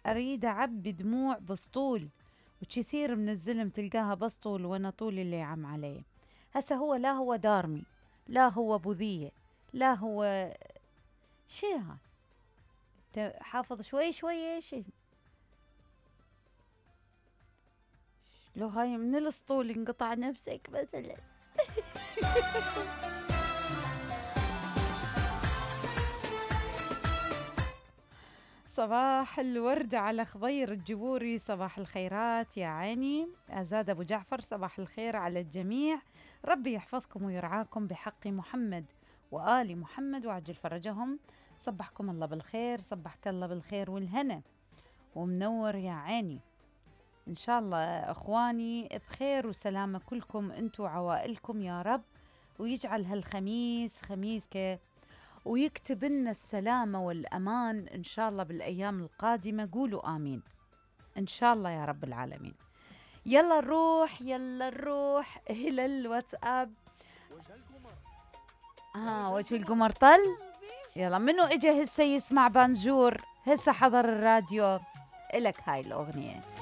اريد اعبي دموع بسطول، وكثير من الزلم تلقاها بسطول وانا طول اللي عم عليه. هسه هو لا هو دارمي، لا هو بوذية، لا هو شي. هاي حافظ شوي شوي شي. لو هاي من الاسطول انقطع نفسك مثلا. صباح الورد على خضير الجبوري، صباح الخيرات يا عيني. أزاد أبو جعفر، صباح الخير على الجميع، ربي يحفظكم ويرعاكم بحق محمد وآل محمد وعجل فرجهم. صبحكم الله بالخير، صبحك الله بالخير والهنا ومنور يا عيني. إن شاء الله أخواني بخير وسلامة كلكم أنتوا وعوائلكم يا رب، ويجعل هالخميس خميسك، ويكتب لنا السلامة والأمان إن شاء الله بالأيام القادمة. قولوا آمين إن شاء الله يا رب العالمين. يلا نروح إلى الواتساب. وجه القمر طل. يلا منو إجا هسه يسمع بانجور، هسه حضر الراديو، إلك هاي الأغنية.